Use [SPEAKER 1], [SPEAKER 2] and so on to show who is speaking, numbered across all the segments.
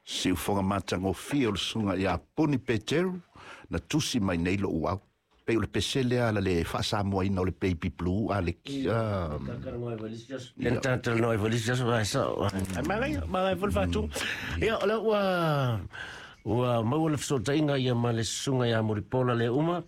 [SPEAKER 1] Siufoga matagofie o le susuga ia Puni Peteru na tusi mai nei lo'u au pei o le pese lea ala le faasamoaina o le baby blue a le
[SPEAKER 2] Lena talatalanoa ai foi le isi aso, ae sao. Ae manaia, manaia foi le faatu. Ia, o lea ua ua maua le fesootaiga ia ma le susuga ia Mulipola le uma.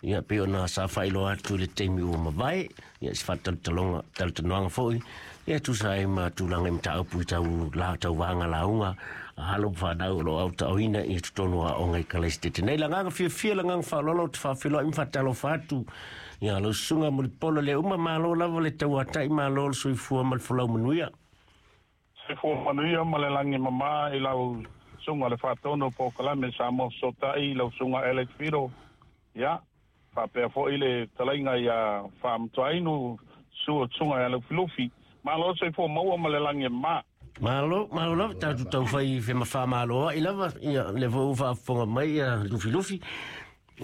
[SPEAKER 2] Ia, pei ona sa faailoa atu i le taimi ua mavae, ia se faatalatalanoaga talatalanoaga foi, ia tusa ai ma tulaga i mataupu i tau la tauvaga lauga a alo ma fanau o lo o aotaoina i totonu o aoga i Kalaisitete nei. Le agaga fiafia, le agaga faaaloalo ou te faafeiloai ma faatalofa atu ia lau susuga Mulipola le uma, malo lava le tauatai, malo le soifua ma le folau manuia.
[SPEAKER 3] Soifua manuia ma le lagi mama i lau susuga le faatonu o polokalame Samoa Fesootai, lau susuga Alex Fido, ia, faapea foi le fetalaiga ia Faamatuainu, susuga ia Lufilufi. Malo le soifua maua ma le lagi e mama.
[SPEAKER 2] Malo, malo lava, tatou taufai femafamalo ai lava, ia, lea foi ua faafofoga mai ia Lufilufi.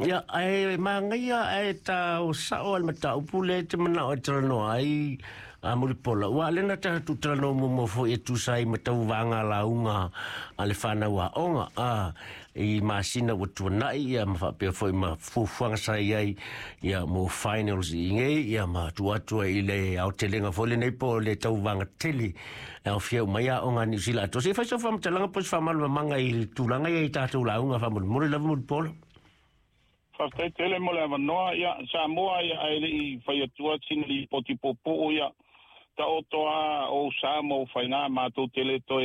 [SPEAKER 2] Ia, ae manaia ae tao sao le mataupu lea e te manao e talanoa ai a Mulipola. Ua lea na tatou talanoa muamua foi e tusa ai ma tauvaga lauga a le fanau aoga a i masina ua tuanai, ia ma faapea foi ma fuafuaga sa i ai ia mo finals i nei, ia ma tuu atu ai i le aotelega foi lenei po o le tauvaga tele e aofia uma ai aoga a Niu Sila atoa. Se i fai sau faamatalaga po o se faamalamalamaga i tulaga ia i tatou lauga faamolemole lava Mulipola.
[SPEAKER 3] Faafetai tele mo le avanoa. Ia, Samoa, ia, ae le i fai atua sina lipoti puupuu, ia, taoto a ou sa ma ou faiga matou te le toe